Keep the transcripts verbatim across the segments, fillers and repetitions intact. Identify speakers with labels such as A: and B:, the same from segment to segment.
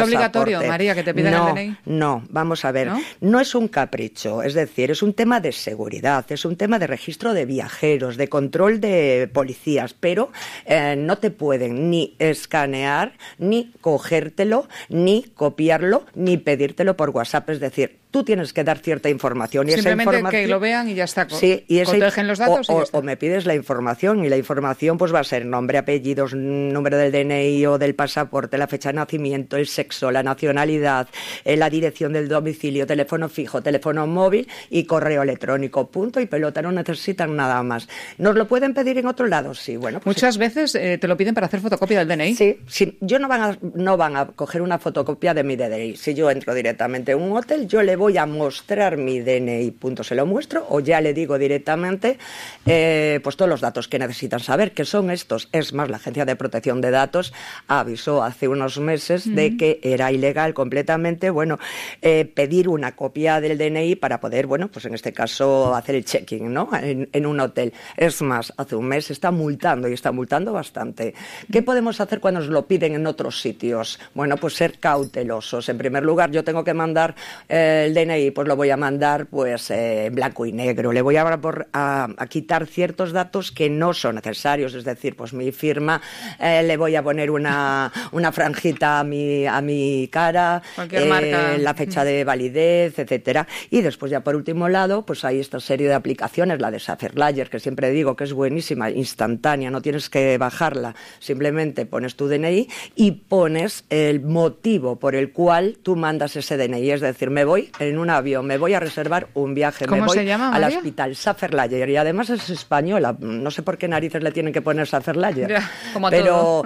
A: ¿Es obligatorio, María, que te pidan
B: no,
A: el D N I?
B: No, vamos a ver. ¿No? No es un capricho, es decir, es un tema de seguridad, es un tema de registro de viajeros, de control de policías, pero eh, no te pueden ni escanear, ni cogértelo, ni copiarlo, ni pedírtelo por WhatsApp, es decir, tú tienes que dar cierta información. Y
A: simplemente
B: esa información,
A: que lo vean y ya está.
B: Sí, y ese,
A: protegen los datos
B: o,
A: y ya está.
B: O me pides la información, y la información pues va a ser nombre, apellidos, número del D N I o del pasaporte, la fecha de nacimiento, el sexo, la nacionalidad, eh, la dirección del domicilio, teléfono fijo, teléfono móvil y correo electrónico. Punto y pelota, no necesitan nada más. ¿Nos lo pueden pedir en otro lado? Sí, bueno. Pues
A: muchas
B: sí.
A: veces eh, te lo piden para hacer fotocopia del D N I.
B: Sí, sí, yo no van a, no van a coger una fotocopia de mi D N I. Si yo entro directamente en un hotel, yo le voy a mostrar mi D N I, punto, se lo muestro, o ya le digo directamente eh, pues todos los datos que necesitan saber, que son estos. Es más, la Agencia de Protección de Datos avisó hace unos meses uh-huh. de que era ilegal completamente, bueno, eh, pedir una copia del D N I para poder, bueno, pues en este caso hacer el check-in, ¿no? En, en un hotel. Es más, hace un mes está multando y está multando bastante. ¿Qué podemos hacer cuando nos lo piden en otros sitios? Bueno, pues ser cautelosos. En primer lugar, yo tengo que mandar eh, el D N I, pues lo voy a mandar pues eh, en blanco y negro. Le voy a, a, a quitar ciertos datos que no son necesarios, es decir, pues mi firma, eh, le voy a poner una, una franjita a mi, a mi cara,
A: cualquier eh, marca,
B: la fecha de validez, etcétera. Y después ya por último lado, pues hay esta serie de aplicaciones, la de Sapphire, que siempre digo que es buenísima, instantánea, no tienes que bajarla, simplemente pones tu D N I y pones el motivo por el cual tú mandas ese D N I, es decir, me voy en un avión, me voy a reservar un viaje,
A: ¿Cómo
B: me voy
A: se llama,
B: al
A: María?
B: hospital Sapphire, y además es española, no sé por qué narices le tienen que poner Sapphire,
A: ya, como a
B: pero,
A: todo.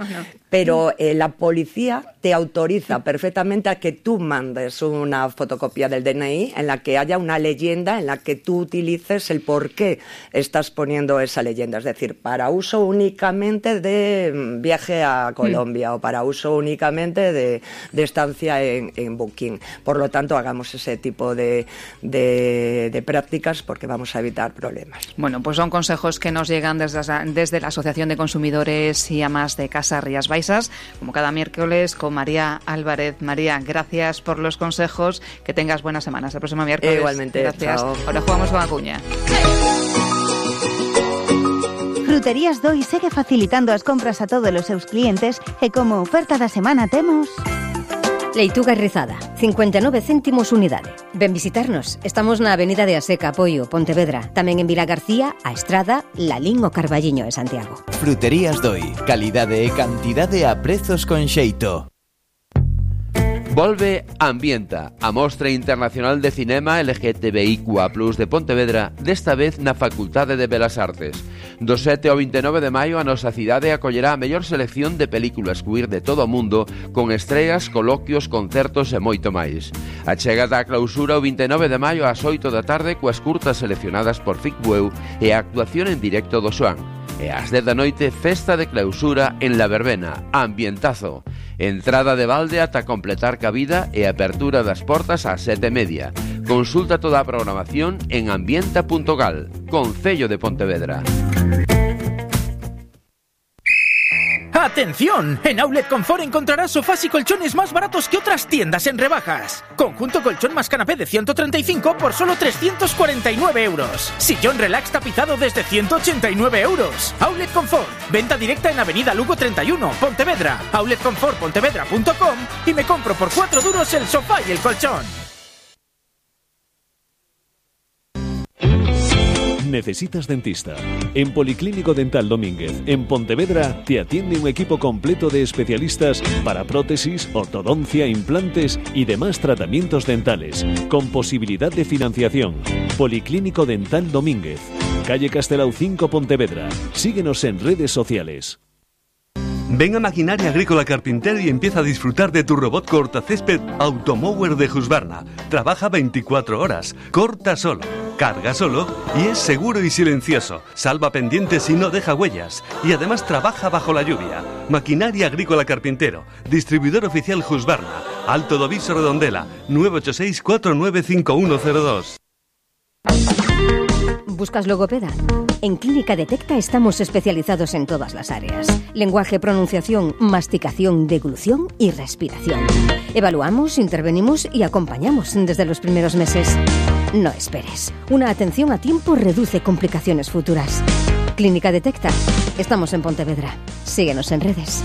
B: pero eh, la policía te autoriza perfectamente a que tú mandes una fotocopia del D N I en la que haya una leyenda en la que tú utilices el por qué estás poniendo esa leyenda, es decir, para uso únicamente de viaje a Colombia mm. o para uso únicamente de, de estancia en, en Booking. Por lo tanto, hagamos ese tipo de, de, de prácticas porque vamos a evitar problemas.
A: Bueno, pues son consejos que nos llegan desde, desde la Asociación de Consumidores y Amas de Casa Rías Baixas, como cada miércoles con María Álvarez. María, gracias por los consejos, que tengas buenas semanas. El próximo miércoles.
B: Igualmente,
A: gracias.
B: Chao.
A: Ahora jugamos con Acuña.
C: Fruterías Doi segue facilitando as compras a todos os seus clientes e como oferta da semana temos...
D: Leituga rizada, cincuenta e nove céntimos unidade. Ven visitarnos. Estamos na Avenida de Aseca, Apoio, Pontevedra. Tamén en Vila García, A Estrada, Lalín o Carballiño de Santiago.
E: Fruterías Doi. Calidade e cantidade a prezos con xeito.
F: Volve Ambienta, a Mostra Internacional de Cinema L G T B I Q A plus, de Pontevedra, desta vez na Facultade de Belas Artes. Do sete ao vinte e nove de maio a nosa cidade acollerá a mellor selección de películas queer de todo o mundo, con estreas, coloquios, concertos e moito máis. A chegada á clausura o vinte e nove de maio ás oito da tarde coas curtas seleccionadas por Ficbueu e a actuación en directo do Xoán. E ás dez da noite, festa de clausura en La Verbena, Ambientazo. Entrada de balde ata completar cabida e apertura das portas ás sete e media. Consulta toda a programación en ambienta punto gal, Concello de Pontevedra.
G: ¡Atención! En Outlet Confort encontrarás sofás y colchones más baratos que otras tiendas en rebajas. Conjunto colchón más canapé de ciento treinta y cinco por solo trescientos cuarenta y nueve euros. Sillón relax tapizado desde ciento ochenta y nueve euros. Outlet Confort. Venta directa en Avenida Lugo treinta y uno, Pontevedra. outlet confort pontevedra punto com y me compro por cuatro duros el sofá y el colchón.
H: ¿Necesitas dentista? En Policlínico Dental Domínguez, en Pontevedra, te atiende un equipo completo de especialistas para prótesis, ortodoncia, implantes y demás tratamientos dentales, con posibilidad de financiación. Policlínico Dental Domínguez, calle Castelao cinco, Pontevedra. Síguenos en redes sociales.
I: Ven a Maquinaria Agrícola Carpintero y empieza a disfrutar de tu robot cortacésped Automower de Husqvarna. Trabaja veinticuatro horas, corta solo, carga solo y es seguro y silencioso. Salva pendientes y no deja huellas. Y además trabaja bajo la lluvia. Maquinaria Agrícola Carpintero, distribuidor oficial Husqvarna, Alto do Viso Redondela, nueve ocho seis, cuatro nueve cinco uno cero dos.
D: ¿Buscas logopeda? En Clínica Detecta estamos especializados en todas las áreas. Lenguaje, pronunciación, masticación, deglución y respiración. Evaluamos, intervenimos y acompañamos desde los primeros meses. No esperes. Una atención a tiempo reduce complicaciones futuras. Clínica Detecta. Estamos en Pontevedra. Síguenos en redes.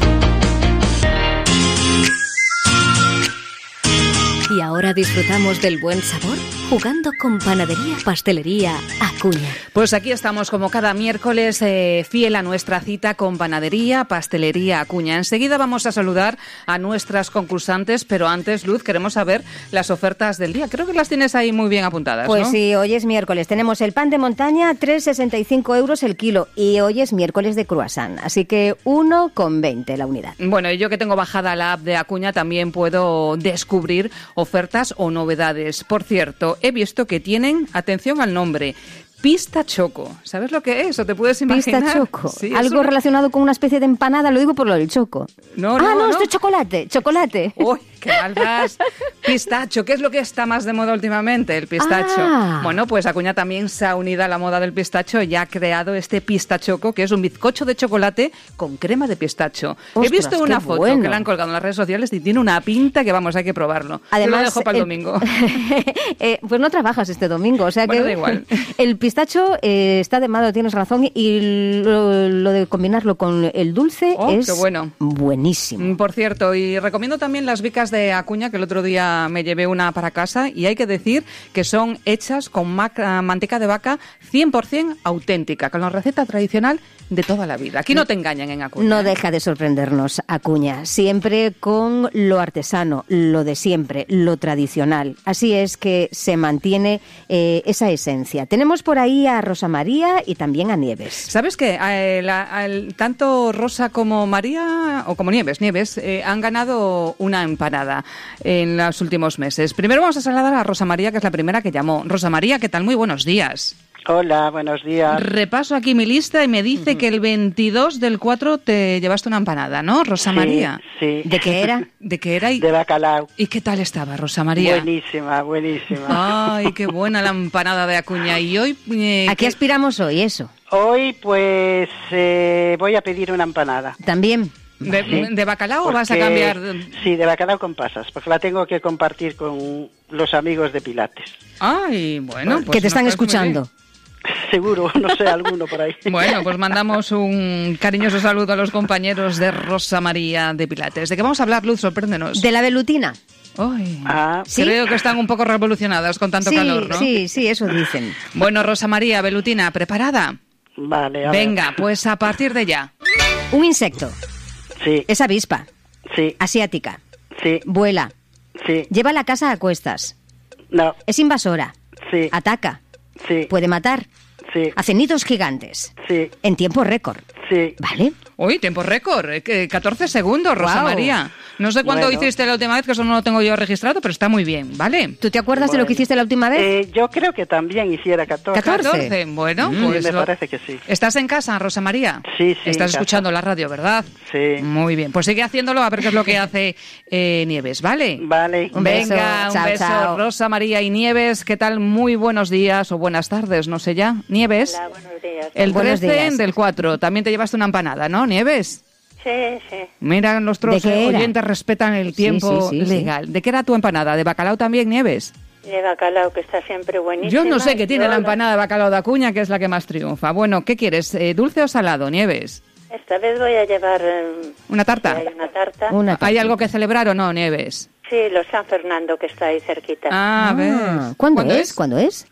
D: Y ahora disfrutamos del buen sabor jugando con Panadería Pastelería Acuña.
A: Pues aquí estamos como cada miércoles, eh, fiel a nuestra cita con Panadería Pastelería Acuña. Enseguida vamos a saludar a nuestras concursantes, pero antes, Luz, queremos saber las ofertas del día. Creo que las tienes ahí muy bien apuntadas,
D: Pues
A: ¿no?
D: sí, hoy es miércoles. Tenemos el pan de montaña, tres con sesenta y cinco euros el kilo. Y hoy es miércoles de croissant, así que uno con veinte la unidad.
A: Bueno, y yo que tengo bajada la app de Acuña también puedo descubrir ofertas o novedades. Por cierto, he visto que tienen, atención al nombre, Pista Choco. ¿Sabes lo que es? ¿O te puedes imaginar?
D: Pista Choco.
A: Sí,
D: Algo
A: un...
D: relacionado con una especie de empanada, lo digo por lo del choco.
A: No,
D: ah,
A: no,
D: no,
A: no.
D: esto es chocolate, chocolate.
A: Uy, qué mal vas. Pistacho, ¿qué es lo que está más de moda últimamente? El pistacho.
D: Ah.
A: Bueno, pues Acuña también se ha unido a la moda del pistacho y ha creado este pistachoco, que es un bizcocho de chocolate con crema de pistacho.
D: Ostras,
A: He visto una
D: qué
A: foto
D: bueno.
A: que la han colgado en las redes sociales y tiene una pinta que, vamos, hay que probarlo.
D: Además,
A: Yo lo dejo para el
D: eh,
A: domingo.
D: eh, pues no trabajas este domingo, o sea
A: Bueno,
D: que
A: da igual.
D: El pistacho eh, está de moda, tienes razón, y lo, lo de combinarlo con el dulce
A: Oh,
D: es
A: qué bueno.
D: buenísimo.
A: Por cierto, y recomiendo también las bicas de Acuña, que el otro día me llevé una para casa, y hay que decir que son hechas con maca, manteca de vaca cien por ciento auténtica, con la receta tradicional de toda la vida. Aquí no te engañan en Acuña.
D: No deja de sorprendernos, Acuña, siempre con lo artesano, lo de siempre, lo tradicional. Así es que se mantiene eh, esa esencia. Tenemos por ahí a Rosa María y también a Nieves.
A: ¿Sabes qué? Eh, la, el, tanto Rosa como María, o como Nieves, Nieves, eh, han ganado una empanada en los últimos meses. Primero vamos a saludar a Rosa María, que es la primera que llamó. Rosa María, ¿qué tal? Muy buenos días.
J: Hola, buenos días.
A: Repaso aquí mi lista y me dice uh-huh. que el veintidós del cuatro te llevaste una empanada, ¿no, Rosa
J: sí,
A: María?
J: Sí.
A: ¿De qué era? ¿De qué era? Y...
J: De bacalao.
A: ¿Y qué tal estaba, Rosa María?
J: Buenísima, buenísima.
A: Ay, qué buena la empanada de Acuña. Y hoy... Eh,
D: ¿A qué aspiramos hoy, eso?
J: Hoy, pues, eh, voy a pedir una empanada.
D: ¿También?
A: ¿De,
J: sí,
A: ¿De bacalao
J: porque,
A: o vas a cambiar?
J: Sí, de bacalao con pasas, porque la tengo que compartir con los amigos de Pilates.
A: Ay, bueno. Pues
D: que te están escuchando.
J: Seguro, no sé, alguno por ahí.
A: Bueno, pues mandamos un cariñoso saludo a los compañeros de Rosa María de Pilates. ¿De qué vamos a hablar, Luz? Sorpréndenos.
D: De la velutina.
A: Ay,
J: ah,
A: ¿sí? Creo que están un poco revolucionadas con tanto
D: sí,
A: calor, ¿no?
D: Sí, sí, eso dicen.
A: Bueno, Rosa María, velutina, ¿preparada?
J: Vale, a
A: Venga,
J: ver.
A: pues a partir de ya.
D: Un insecto.
J: Sí.
D: Es avispa.
J: Sí.
D: Asiática.
J: Sí.
D: Vuela.
J: Sí.
D: Lleva la casa a cuestas.
J: No.
D: Es invasora.
J: Sí.
D: Ataca.
J: Sí.
D: Puede matar.
J: Sí.
D: Hace nidos gigantes.
J: Sí.
D: En tiempo récord.
J: Sí.
D: ¿Vale?
A: Uy, tiempo récord, catorce segundos, Rosa
D: Wow.
A: María. No sé cuándo
J: Bueno.
A: hiciste la última vez, que eso no lo tengo yo registrado, pero está muy bien, ¿vale?
D: ¿Tú te acuerdas
J: Bueno.
D: de lo que hiciste la última vez?
J: Eh, yo creo que también hiciera catorce.
D: catorce.
A: Bueno,
J: Mm,
A: pues
J: me
A: lo-
J: parece que sí.
A: ¿Estás en casa, Rosa María?
J: Sí, sí,
A: Estás
J: en
A: escuchando
J: casa.
A: la radio, ¿verdad?
J: Sí.
A: Muy bien, pues sigue haciéndolo a ver qué es lo que hace eh, Nieves, ¿vale?
J: Vale.
D: Un beso.
A: Venga, un
D: Chao,
A: beso,
D: chao.
A: Rosa María y Nieves, ¿qué tal? Muy buenos días o buenas tardes, no sé ya. Nieves,
K: Hola, buenos días.
A: el
D: Buenos
A: trece
D: días.
A: del cuatro, también te llevaste una empanada, ¿no, Nieves?
K: Sí, sí.
A: Mira, nuestros
D: ¿De qué era?
A: oyentes respetan el
D: Sí,
A: tiempo
D: sí, sí, sí.
A: legal. ¿De qué era tu empanada? ¿De bacalao también, Nieves?
K: De bacalao, que está siempre buenísimo.
A: Yo no sé qué tiene
K: Yo
A: la empanada de bacalao de Acuña, que es la que más triunfa. Bueno, ¿qué quieres? Eh, ¿Dulce o salado, Nieves?
K: Esta vez voy a llevar... eh,
A: ¿Una tarta?
K: Hay una tarta.
D: Una
A: ¿Hay
D: tarta.
A: algo que celebrar o no, Nieves?
K: Sí, los San Fernando, que está ahí cerquita.
A: Ah,
D: Ah,
A: ¿ves?
D: ¿Cuándo, es? ¿Cuándo es?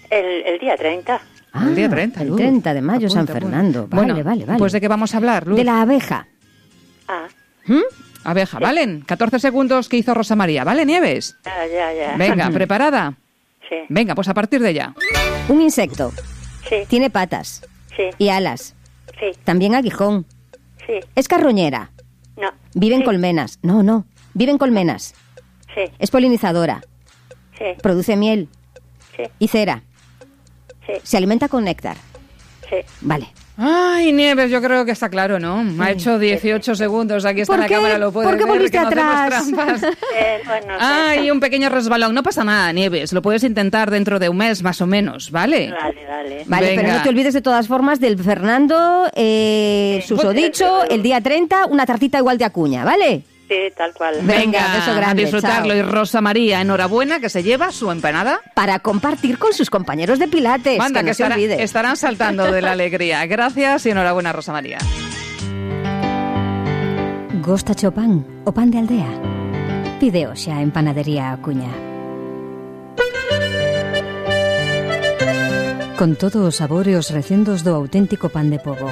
K: El, el día treinta.
D: Ah,
A: El día treinta,
D: El
A: Luz.
D: treinta de mayo,
A: Apunta,
D: San
A: apunta.
D: Fernando. Vale,
A: Bueno,
D: vale, vale.
A: pues ¿de qué vamos a hablar, Luz?
D: De la abeja.
K: Ah,
D: ¿Mm?
A: Abeja, ¿valen? catorce segundos que hizo Rosa María, ¿vale, Nieves?
K: ya, ya, ya.
A: Venga, ¿preparada?
K: Sí,
A: Venga, pues a partir de ya.
D: Un insecto.
K: sí,
D: Tiene patas
K: sí,
D: y alas.
K: sí,
D: También aguijón.
K: sí.
D: Es carroñera.
K: No.
D: Vive en
K: Sí,
D: colmenas. No, no. Vive en colmenas.
K: Sí,
D: Es polinizadora.
K: sí,
D: Produce miel
K: sí,
D: y cera.
K: sí,
D: Se alimenta con néctar.
K: sí.
D: Vale.
A: Ay, Nieves, yo creo que está claro, ¿no? Sí. Ha hecho dieciocho segundos, aquí está en la cámara, lo puede ver.
D: ¿Por qué volviste atrás?
K: Eh, bueno,
A: Ay, un pequeño resbalón, no pasa nada, Nieves, lo puedes intentar dentro de un mes, más o menos, ¿vale?
K: Vale, vale.
D: Vale, Venga. Pero no te olvides de todas formas del Fernando, eh, sí. susodicho, el día treinta, una tartita igual de Acuña, ¿vale?
K: Sí, tal cual.
A: Venga, beso grande, a disfrutarlo. Chao. Y Rosa María, enhorabuena, que se lleva su empanada
D: para compartir con sus compañeros de pilates.
A: Manda, que, no
D: que
A: estará,
D: se olvide.
A: Estarán saltando de la alegría. Gracias y enhorabuena, Rosa María.
D: Gostache o pan, o pan de aldea? Pide xa en Panadería Acuña. Con todos os sabores recendos do auténtico pan de pobo,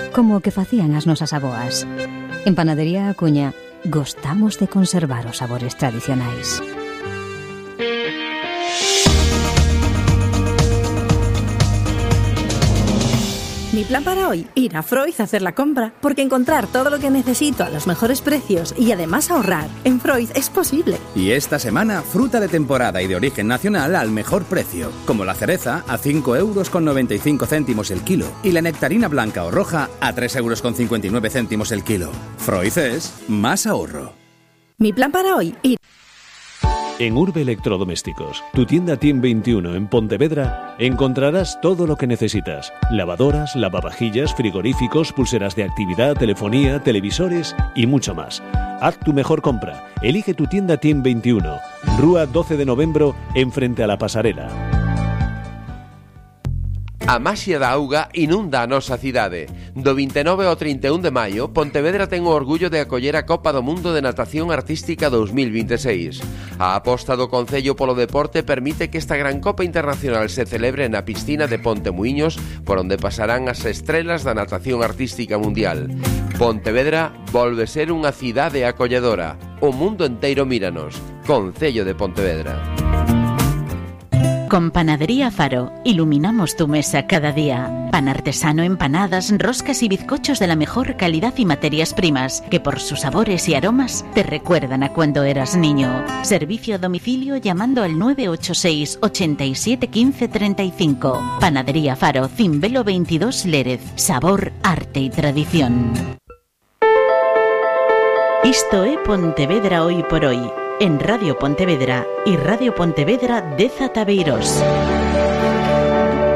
D: como o que facían as nosas aboas. En Panadería Acuña gostamos de conservar os sabores tradicionais.
L: Mi plan para hoy, ir a Freud a hacer la compra, porque encontrar todo lo que necesito a los mejores precios y además ahorrar en Freud es posible.
M: Y esta semana, fruta de temporada y de origen nacional al mejor precio, como la cereza a cinco euros con noventa y cinco céntimos el kilo y la nectarina blanca o roja a tres euros con cincuenta y nueve céntimos el kilo. Freud es más ahorro.
L: Mi plan para hoy, ir...
H: En Urbe Electrodomésticos, tu tienda Team veintiuno en Pontevedra, encontrarás todo lo que necesitas. Lavadoras, lavavajillas, frigoríficos, pulseras de actividad, telefonía, televisores y mucho más. Haz tu mejor compra. Elige tu tienda Team veintiuno, Rúa doce de Novembro, enfrente a la pasarela.
F: A maxia da auga inunda a nosa cidade. Do vinte e nove ao trinta e un de maio, Pontevedra ten o orgullo de acoller a Copa do Mundo de Natación Artística dous mil vinte e seis. A aposta do Concello polo deporte permite que esta gran Copa Internacional se celebre na piscina de Ponte Muíños, por onde pasarán as estrelas da natación artística mundial. Pontevedra volve ser unha cidade acolledora. O mundo enteiro míranos. Concello de Pontevedra.
N: Con Panadería Faro, iluminamos tu mesa cada día. Pan artesano, empanadas, roscas y bizcochos de la mejor calidad y materias primas, que por sus sabores y aromas te recuerdan a cuando eras niño. Servicio a domicilio llamando al nueve ocho seis, ochenta y siete, quince, treinta y cinco. Panadería Faro, Cimbelo veintidós Lérez. Sabor, arte y tradición. Isto é Pontevedra hoy por hoy. En Radio Pontevedra y Radio Pontevedra dez Tabeiros.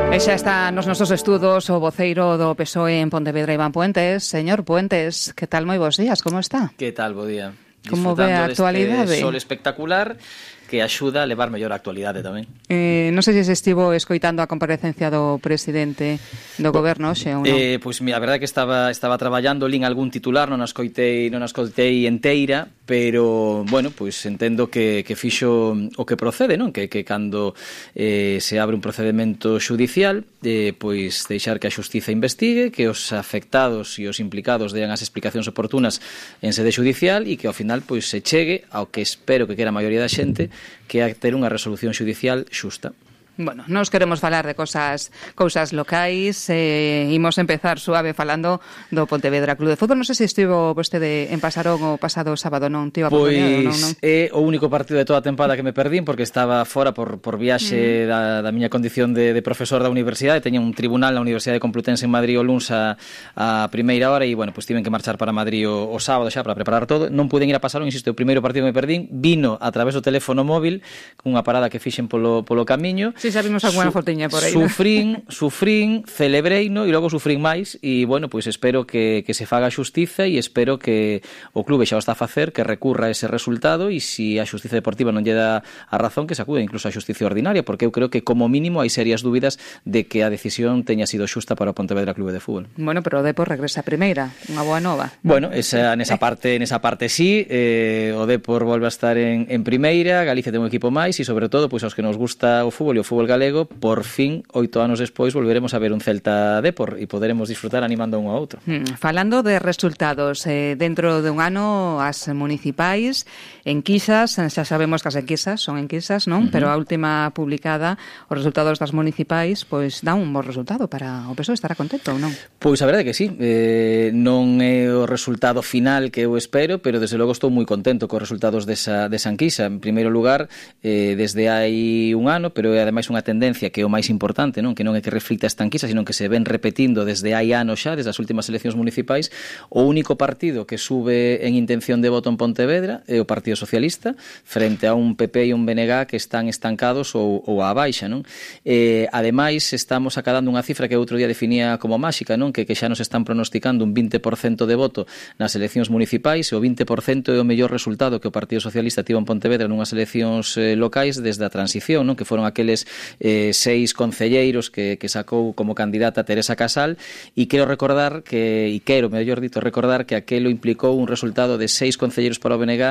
A: E xa está nos nosos estudos o voceiro do P S O E en Pontevedra, Iván Puentes. Señor Puentes, que tal? Moi bons días, como está?
O: Que tal, bo día?
A: Como ve a actualidade?
O: Sol espectacular que axuda a levar mellor a actualidade tamén.
A: Eh, non sei se se estivo escoitando a comparecencia do presidente do goberno hoxe ou non.
O: Eh, pois pues, a verdade é que estaba estaba traballando, lín algún titular, non as coitei, non as coitei enteira, pero bueno, pois pues, entendo que que fixo o que procede, non? Que que cando eh, se abre un procedemento xudicial, eh, pois deixar que a xustiza investigue, que os afectados e os implicados dean as explicacións oportunas en sede xudicial e que ao final pois se chegue ao que espero que quera a maioría da xente, que é ter unha resolución xudicial xusta.
A: Bueno, nos queremos falar de cosas cousas locais, eh, imos empezar suave falando do Pontevedra Club de Fútbol. Non sei se estivo vostede en Pasarón o pasado sábado, non? Tivo a
O: pois
A: non, non?
O: É o único partido de toda a tempada que me perdín porque estaba fora por, por viaxe mm. da, da miña condición de, de profesor da universidade. Teña un tribunal na Universidade Complutense en Madrid o luns a, a primeira hora e, bueno, pois tiven que marchar para Madrid o, o sábado xa para preparar todo. Non puden ir a Pasarón, insisto, o primeiro partido que me perdín vino a través do teléfono móvil cunha parada que fixen polo, polo camiño.
A: Sí, xa vimos alguna Su fotiña por aí.
O: Sufrín, sufrín, celebreino e logo sufrín máis e, bueno, pois espero que, que se faga a xustiza e espero que o clube xa o está a facer, que recurra ese resultado e se a xustiza deportiva non lle dá a razón, que se acude incluso a xustiza ordinaria, porque eu creo que como mínimo hai serias dúbidas de que a decisión teña sido xusta para o Pontevedra Clube de Fútbol.
A: Bueno, pero o Depor regresa a primeira, unha boa nova.
O: Bueno, esa, nesa parte nesa parte sí, eh, o Depor volve a estar en, en primeira, Galicia ten un equipo máis e sobre todo pois aos que nos gusta o fútbol e o fútbol galego, por fin, oito anos despois, volveremos a ver un Celta Depor e poderemos disfrutar animando un ao outro.
A: Hmm, falando de resultados, eh, dentro de un ano as municipais, enquisas, xa sabemos que as enquisas son enquisas, non? Uh-huh. Pero a última publicada, os resultados das municipais, pois dá un bo resultado para o P S O E, estará contento ou non?
O: Pois a verdade é que sí, eh, non é o resultado final que eu espero, pero desde logo estou moi contento cos resultados desa, desa enquisa. En primeiro lugar, eh, desde hai un ano, pero ademais ademais unha tendencia que é o máis importante, non? Que non é que reflita esta enquisa, sino que se ven repetindo desde hai anos xa, desde as últimas eleccións municipais. O único partido que sube en intención de voto en Pontevedra é o Partido Socialista, frente a un P P e un B N G que están estancados ou, ou á baixa, non? Eh, ademais, estamos acadando unha cifra que outro día definía como máxica, non? Que, que xa nos están pronosticando un vinte por cento de voto nas eleccións municipais, e o vinte por cento é o mellor resultado que o Partido Socialista tivo en Pontevedra nunhas eleccións eh, locais desde a transición, non? Que foron aqueles eh, seis concelleiros que, que sacou como candidata Teresa Casal, e quero recordar que, e quero, mellor dito, recordar que aquelo implicou un resultado de seis concelleiros para o B N G,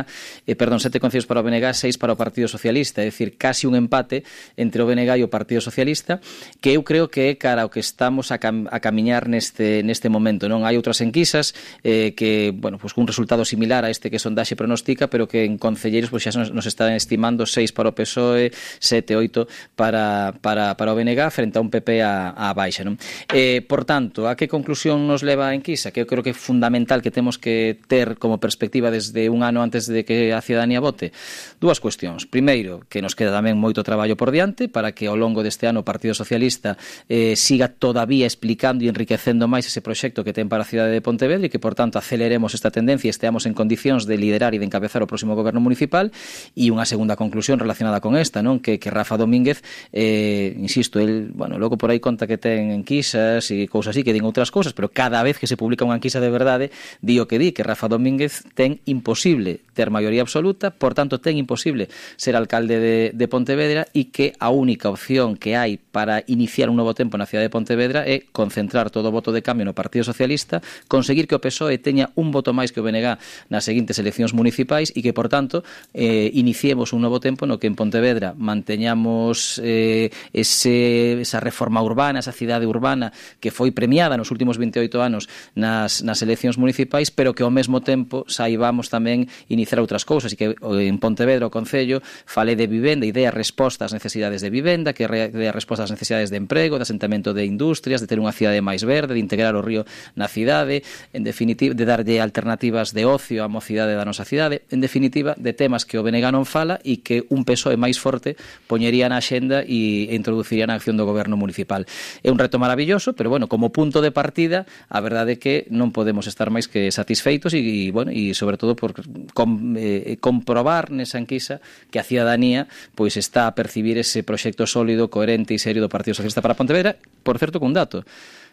O: eh, perdón, sete concelleiros para o B N G, seis para o Partido Socialista, é dicir, casi un empate entre o B N G e o Partido Socialista, que eu creo que é cara ao que estamos a, cam a camiñar neste, neste momento, non? Hai outras enquisas eh, que, bueno, pues un resultado similar a este que Sondaxe pronostica, pero que en concelleiros pues, xa nos, nos están estimando seis para o P S O E, sete, oito para, para, para o B N G frente a un P P a, a baixa, non? Eh, por tanto, a que conclusión nos leva a enquisa? Que eu creo que é fundamental que temos que ter como perspectiva desde un ano antes de que a cidadanía vote. Dúas cuestións. Primeiro, que nos queda tamén moito traballo por diante para que ao longo deste ano o Partido Socialista eh, siga todavía explicando e enriquecendo máis ese proxecto que ten para a cidade de Pontevedra e que, por tanto, aceleremos esta tendencia e esteamos en condicións de liderar e de encabezar o próximo goberno municipal. E unha segunda conclusión relacionada con esta, non? Que, que Rafa Domínguez, eh, insisto, el, bueno, logo por aí conta que ten enquisas e cousas así, que din outras cousas, pero cada vez que se publica unha enquisa de verdade, di o que di, que Rafa Domínguez ten imposible ter maioría absoluta, por tanto, ten imposible ser alcalde de, de Pontevedra, e que a única opción que hai para iniciar un novo tempo na cidade de Pontevedra é concentrar todo o voto de cambio no Partido Socialista, conseguir que o P S O E teña un voto máis que o B N G nas seguintes eleccións municipais e que, por tanto, eh, iniciemos un novo tempo no que en Pontevedra manteñamos eh, ese, esa reforma urbana, esa cidade urbana que foi premiada nos últimos veintioito anos nas, nas eleccións municipais, pero que ao mesmo tempo saibamos tamén iniciar outras cousas, e que en Pontevedra o Concello fale de vivenda e dea resposta ás necesidades de vivenda, que dea resposta ás necesidades de emprego, de asentamento de industrias, de ter unha cidade máis verde, de integrar o río na cidade, en definitiva, de darlle alternativas de ocio á mocidade da nosa cidade, en definitiva, de temas que o B N G non fala e que un P S O E máis forte poñería na axenda e introduciría na acción do goberno municipal. É un reto maravilloso, pero, bueno, como punto de partida, a verdade é que non podemos estar máis que satisfeitos e, e bueno, e sobre todo por com, eh, comprobar nesa enquisa que a cidadanía pois está a percibir ese proxecto sólido, coherente e serio do Partido Socialista para Pontevedra, por certo, cun dato.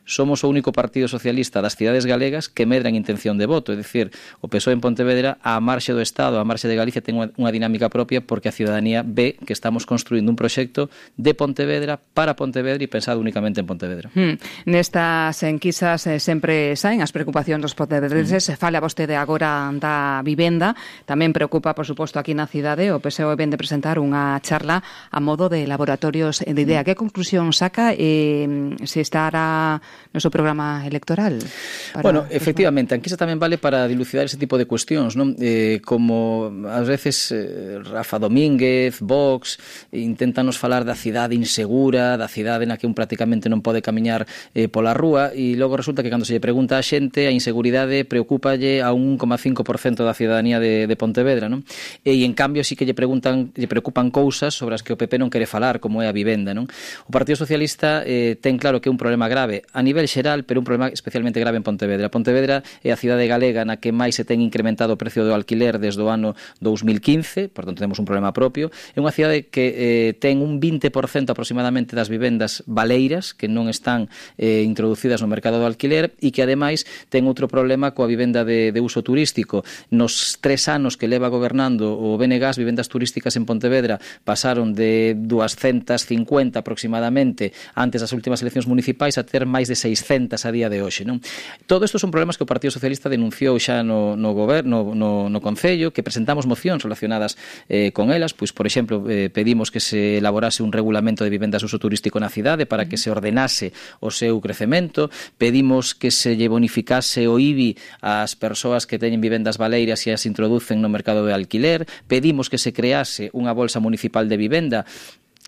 O: Somos o único partido socialista das cidades galegas que medra en intención de voto, é dicir, o P S O E en Pontevedra, á marxe do Estado, á marxe de Galicia, ten unha, unha dinámica propia porque a cidadanía ve que estamos construindo un proxecto de Pontevedra para Pontevedra e pensado únicamente en Pontevedra.
A: Hmm. Nestas enquisas eh, sempre saen as preocupacións dos pontevedrenses. Hmm. Fala vostede agora da vivenda, tamén preocupa, por suposto, aquí na cidade. O P S O E ven de presentar unha charla a modo de laboratorios de idea. Hmm. Que conclusión saca eh, se estará no seu programa electoral? Para...
O: Bueno, efectivamente, a enquisa tamén vale para dilucidar ese tipo de cuestións, non? Eh, como ás veces eh, Rafa Domínguez, Vox, inténtanos falar da cidade insegura, da cidade na que un prácticamente non pode camiñar eh, pola rúa, e logo resulta que cando se lle pregunta a xente, a inseguridade preocúpalle a un un coma cinco por cento da cidadanía de, de Pontevedra, non? E en cambio sí que lle preguntan, lle preocupan cousas sobre as que o P P non quere falar, como é a vivenda, non? O Partido Socialista eh, ten claro que é un problema grave a nivel xeral, pero un problema especialmente grave en Pontevedra. Pontevedra é a cidade galega na que máis se ten incrementado o precio do alquiler desde o ano dous mil quince, por tanto temos un problema propio. É unha cidade que eh, ten un vinte por cento aproximadamente das vivendas baleiras que non están eh, introducidas no mercado do alquiler e que ademais ten outro problema coa vivenda de, de uso turístico. Nos tres anos que leva gobernando o B N G, as vivendas turísticas en Pontevedra pasaron de doscientas cincuenta aproximadamente antes das últimas eleccións municipais a ter máis de seiscentas a día de hoxe, non? Todo isto son problemas que o Partido Socialista denunciou xa no, no goberno, no, no Concello, que presentamos mocións relacionadas eh, con elas, pois, por exemplo, eh, pedimos que se elaborase un regulamento de vivendas de uso turístico na cidade para que se ordenase o seu crecemento, pedimos que se lle bonificase o I B I ás persoas que teñen vivendas baleiras e as introducen no mercado de alquiler, pedimos que se crease unha bolsa municipal de vivenda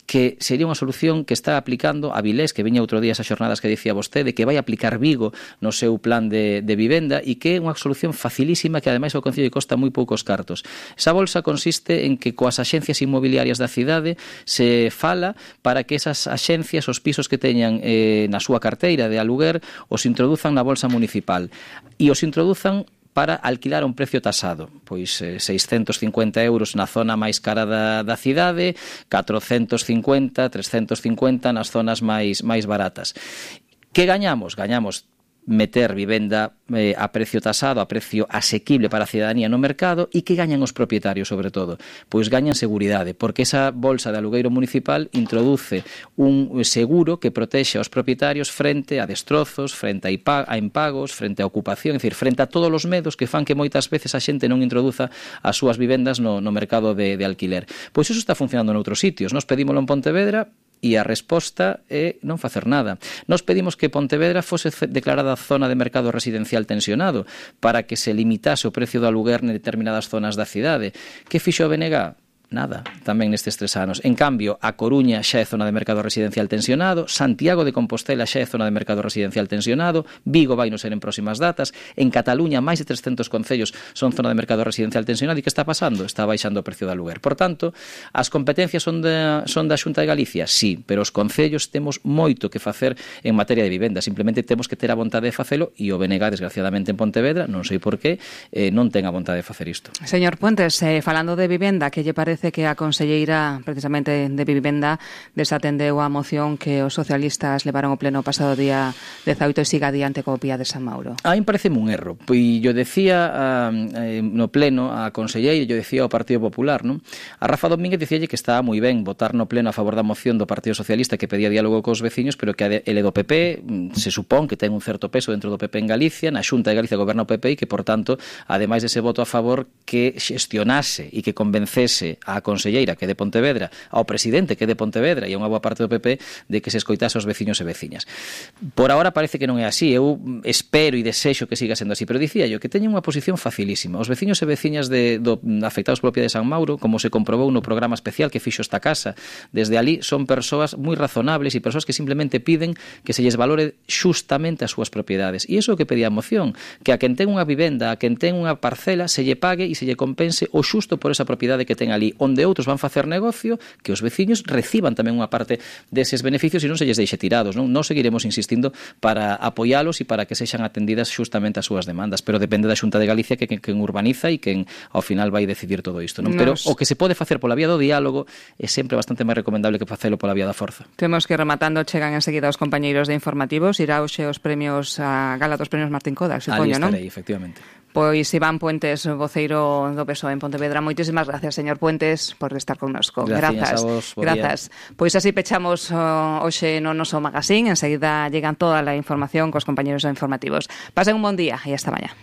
O: que sería unha solución que está aplicando a Vilés, que viña outro día esas xornadas que dicía vostede, que vai aplicar Vigo no seu plan de, de vivenda e que é unha solución facilísima que ademais ao Concello lle costa moi poucos cartos. Esa bolsa consiste en que coas axencias inmobiliarias da cidade se fala para que esas axencias, os pisos que teñan eh, na súa carteira de aluguer, os introduzan na bolsa municipal e os introduzan para alquilar a un precio tasado, pois eh, seiscentos cincuenta euros na zona máis cara da, da cidade, catrocentos cincuenta, trescentos cincuenta nas zonas máis máis baratas. Que gañamos? Gañamos meter vivenda eh, a precio tasado, a precio asequible para a cidadanía no mercado, e que gañan os propietarios, sobre todo? Pois gañan seguridade, porque esa bolsa de alugueiro municipal introduce un seguro que protexe aos propietarios frente a destrozos, frente a impagos, frente a ocupación, é dicir, frente a todos os medos que fan que moitas veces a xente non introduza as súas vivendas no, no mercado de, de alquiler. Pois iso está funcionando noutros sitios. Nos pedímolo en Pontevedra, e a resposta é non facer nada. Nos pedimos que Pontevedra fose declarada zona de mercado residencial tensionado para que se limitase o precio do aluguer en determinadas zonas da cidade. Que fixo o B N G? Nada, tamén nestes tres anos. En cambio, a Coruña xa é zona de mercado residencial tensionado, Santiago de Compostela xa é zona de mercado residencial tensionado, Vigo vai non ser en próximas datas, en Cataluña máis de trescentos concellos son zona de mercado residencial tensionado. E que está pasando? Está baixando o precio do aluguer. Por tanto, as competencias son da, son da Xunta de Galicia? Sí, pero os concellos temos moito que facer en materia de vivenda. Simplemente temos que ter a vontade de facelo, e o B N G, desgraciadamente, en Pontevedra, non sei por qué, eh, non ten a vontade de facer isto.
A: Señor Puentes, eh, falando de vivenda, que lle parece que a conselleira precisamente de Vivenda desatendeu a moción que os socialistas levaron ao pleno pasado día dezaoito e siga adiante co Pía de San Mauro?
O: A mí pareceme un erro. Pois yo decía uh, no pleno a conselleira, yo decía ao Partido Popular, non? A Rafa Domínguez dicíalle que estaba moi ben votar no pleno a favor da moción do Partido Socialista que pedía diálogo cos veciños, pero que ele do P P se supón que ten un certo peso dentro do P P en Galicia, na Xunta de Galicia goberna o P P, e que, por tanto, ademais dese voto a favor, que xestionase e que convencese a conselleira que é de Pontevedra, ao presidente que é de Pontevedra e a unha boa parte do P P de que se escoitase aos veciños e veciñas. Por ahora parece que non é así. Eu espero e desexo que siga sendo así, pero dicía yo que teñen unha posición facilísima. Os veciños e veciñas de, do, afectados pola Pía de San Mauro, como se comprobou no programa especial que fixo esta casa, desde ali son persoas moi razonables e persoas que simplemente piden que se lles valore xustamente as súas propiedades. E iso é o que pedía a moción, que a quen ten unha vivenda, a quen ten unha parcela, se lle pague e se lle compense o xusto por esa propiedade que ten ali, onde outros van facer negocio, que os veciños reciban tamén unha parte deses beneficios e non se lles deixe tirados, non? Non seguiremos insistindo para apoialos e para que sexan atendidas xustamente as súas demandas, pero depende da Xunta de Galicia que quen urbaniza e quen ao final vai decidir todo isto, non? Pero o que se pode facer pola vía do diálogo é sempre bastante máis recomendable que facelo pola vía da forza.
A: Temos que rematando, chegan enseguida os compañeiros de informativos, irá hoxe os premios a gala dos premios Martín Kodak, supoño, non?
O: Ali estarei, efectivamente.
A: Pois Iván Puentes, voceiro do P S O E en Pontevedra, moitísimas gracias, señor Puentes, por estar connosco.
O: Gracias, a vos,
A: grazas. Pois así pechamos uh, hoxe no noso magazín, enseguida llegan toda a información cos compañeros informativos. Pasen un bon día e hasta mañá.